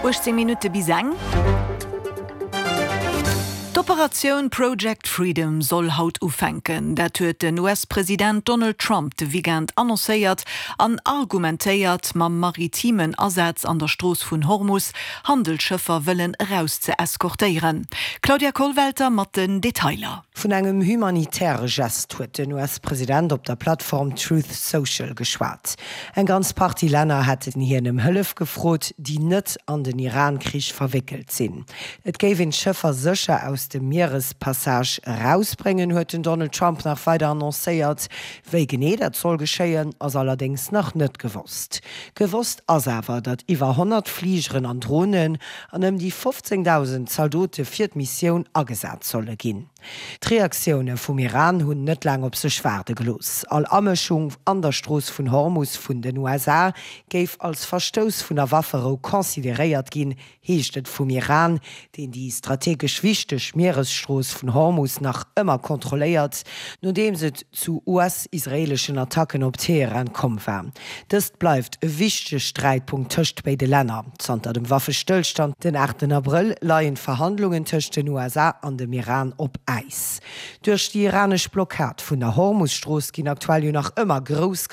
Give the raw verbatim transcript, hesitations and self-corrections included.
Uechtzéng Minutte bis eng. D'Operatioun Project Freedom soll haut ufänken. Dat huet den U S-President Donald Trump de Weekend annoncéiert an argumentéiert, mam maritimen Asaz an der Strooss vun Hormus Handelsschëffer wëllen eraus ze eskortéieren. Claudia Kollwelter mat den Detailer. Vun engem humanitäre Gest huet den U S-President op der Plattform Truth Social geschwat. Eng ganz Partie Länner hätten hien ëm Hëllef gefrot, déi net an den Iran-Krich verwéckelt sinn. Et géif een d'Schëffer sécher aus dem Mierespassage erausbréngen, huet den Donald Trump nach weider annoncéiert. Wéi genee dat soll geschéien, ass allerdéngs nach net gewosst. Gewosst ass awer, datt iwwer honnert Fligeren an Dronen an ëm déi fofzéngdausend Zaldote fir d'Missioun agesat solle ginn. D'Reaktioune vum Iran hunn net laang op sech waarde gelooss. All Amëschung an der Strooss vun Hormus vun den U S A géif als Verstouss vun der Wafferou consideréiert ginn, heescht et vum Iran, deen déi strategesch wichteg Mieresstrooss vun Hormus nach ëmmer kontrolléiert, nodeems et zu U S-israeeleschen Attacken op Teheran komm war. Dëst bleift e wichtege Sträitpunkt tëscht béide Länner. Zanter dem Waffestëllstand den aachten Abrëll leien d'Verhandlungen tëscht den U S A an dem Iran op Äis. Duerch déi iranesch Blockad vun der Hormus-Strooss ginn aktuell jo nach ëmmer grouss